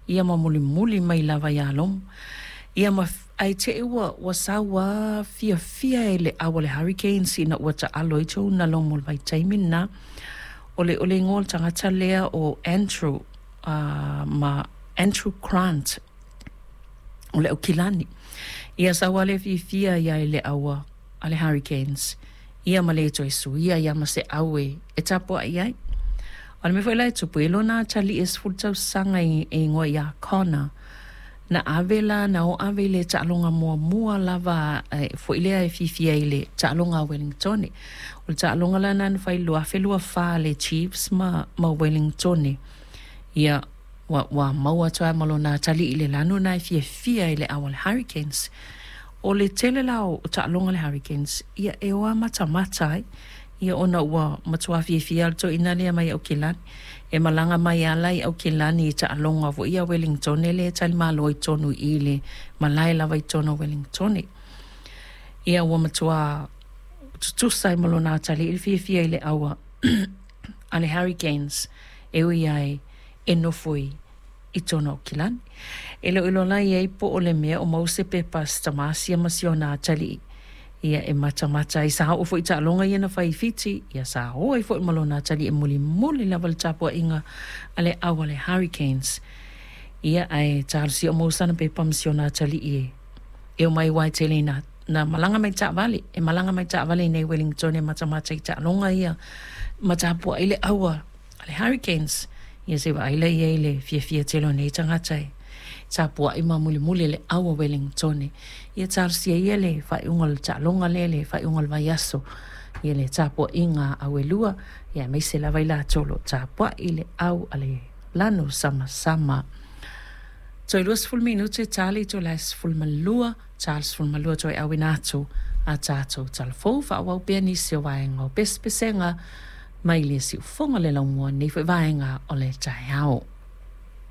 Ia ma mulimuli mai lava iā Lomu. Ia ma ae te'i ua ua sau a fiafia i le ʻau a le Hurricanes ina ua taalo ai Jonah Lomu i le vaitaimi lena. O le o le igoa o le tagata lea o Andrew ma Andrew Grant o le Aukilani. Ia sau a le fiafia ia i le ʻau a le Hurricanes. Ia ma le toe suia ia ma se ʻau e e tapuaʻi ai. O le mea foi la e tupu, e lona atalii e 10 tausaga e igoa ia Connor, na ave la, na o ave i le taaloga muamua lava foi lea e fiafia i le taaloga a Wellingtone. O le taaloga la na na fai i le 2024 a le Chiefs ma, ma Wellingtone. Ia, ua, ua maua atu ai ma lona atalii i le lanu na e fiafia i le ʻau a le Hurricanes. O le tele la o taaloga a le Hurricanes, ia e o a matamata ai. Ia ona ua matua fiafia le toeaina lea mai Aukilani. E malaga mai ala i Aukilani i taaloga foi ia Wellingtone lea e talimalo ai tonu i i le malae lava i totonu o Wellingtone. Ia ua matua tutusa ai ma lona atalii le fiafia i le ʻau a le Hurricanes e ui ai e nofo i i totonu o Aukilani. E le o iloa la i ai po o le mea o maua se pepa a si tamā sia ma si ona atalii ia e matamata ai. Sa oo foi i taaloga ia na fai i Fiti, ia sa o ai foi ma lona atalii e mulimuli lava le tapuaiga a le ʻau a le Hurricanes. Ia ae talosia o maua sana pepa ma si ona atalii e e omai aua e tele ina na malaga mai taavale, e malaga mai taavale i nei Wellingtone e matamata i taaloga ia ma tapuai le ʻau a a le Hurricanes, ia se i vaai la i ai le fiafia tele o nei tagata e tapuai ma mulimuli le ʻau a Wellingtone. Ia talosia ia le faaiuga o le taaloga lea, le faaiuga o le vaiaso, ia le tapuaiga a ʻau e lua, ia aemaise lava i latou o lo o tapuai le ʻau a le lanu samasama. Toe 20 minute ta le itula e 12, ta le 12 toe auina atu a tatou talafou faaauau pea nisi o vaega o pesepesega mai le siufofoga o le laumua i lenei foi vaega o le taeao.